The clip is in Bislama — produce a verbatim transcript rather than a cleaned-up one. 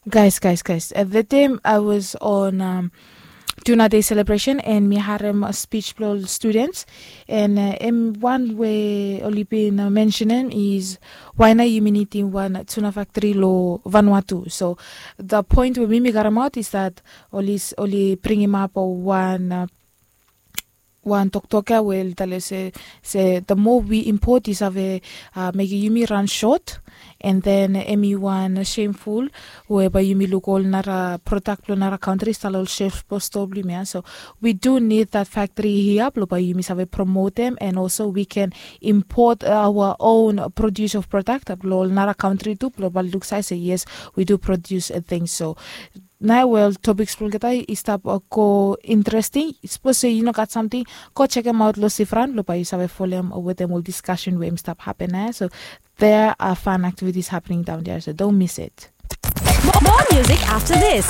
Guys, guys, guys, at that time I was on um, Tuna Day celebration and mi harem a speech blong ol students and uh, em wan we oli bin uh, mentionem is why na yumi nidim wan tuna factory lo Vanuatu. So the point we mi mi garem out is that oli s- oli bringim up wan uh, wan toktok ya we oli talem se se the more we import i save uh, mekim yumi run short and then em i wan shameful we bae yumi luk ol nara product blong nara country stap long ol shelf blong store blong yumi ya. So we do need that factory hia blong bae yumi save promote them and also we can import our own produce of product blong ol nara country tu blong bae luk save se yes, we do produce a thing. So na we ol topics blong olgeta i stap uh, go interesting. Sapos se yu no gat samting, go chekem aut long Sifran blong bae yu save folem wetem ol discussion we im stap happen ya. So there are fun activities happening down there, so don't miss it. More music after this.